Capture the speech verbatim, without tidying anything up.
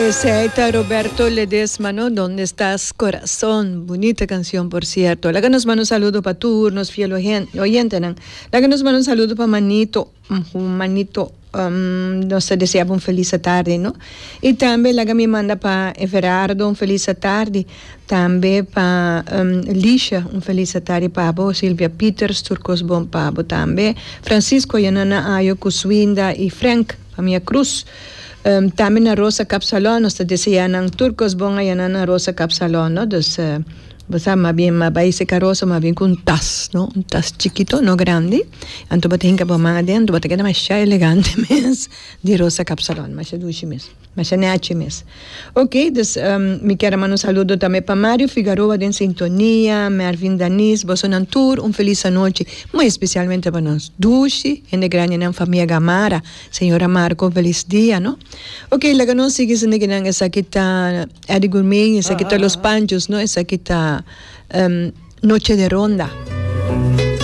Esey ta Roberto Ledesma, no? ¿Dónde estás, corazón? Bunita cancion, por cierto. Laga nos manda un saludo pa tur nos fiel oyentenan. Laga nos manda un saludo pa Manito, Manito, um, nos ta desea un feliz tardi, no? Y tambe laga mi manda pa Everardo un feliz tardi. Tambe pa um, Lisha un feliz tardi pa bo, Silvia Peters, tur cos bon pa bo tambe. Francisco Yanana Ayo Kuswinda y Frank, famia Cruz. Um, tambe na Rosa Kapsalon, nos ta desea nan tur cos bon aya na Rosa Kapsalon, no? Dus, uh, bo mas bien, m'a bay serca Rosa, mas bien cu un tas, no? Un tas chikito, no grandi. Anto bo ta hinca bo man aden, bo ta keda mas elegante mes di Rosa Kapsalon, mas dushi mes. Mas nechi mes. Ok, dus um, mi kier manda un saludo tambe pa Mario Figueroa den sintonia, Mervin Danis, boso tur, un feliz anochi, muy especialmente pa nos dushi, hende grandi na famia Gamara, señora Marco, feliz dia, no? Ok, laga nos sigui sende esaki ta Eddie Gourmet, esaki ta Los Panchos, no? Esaki ta um, Noche de Ronda.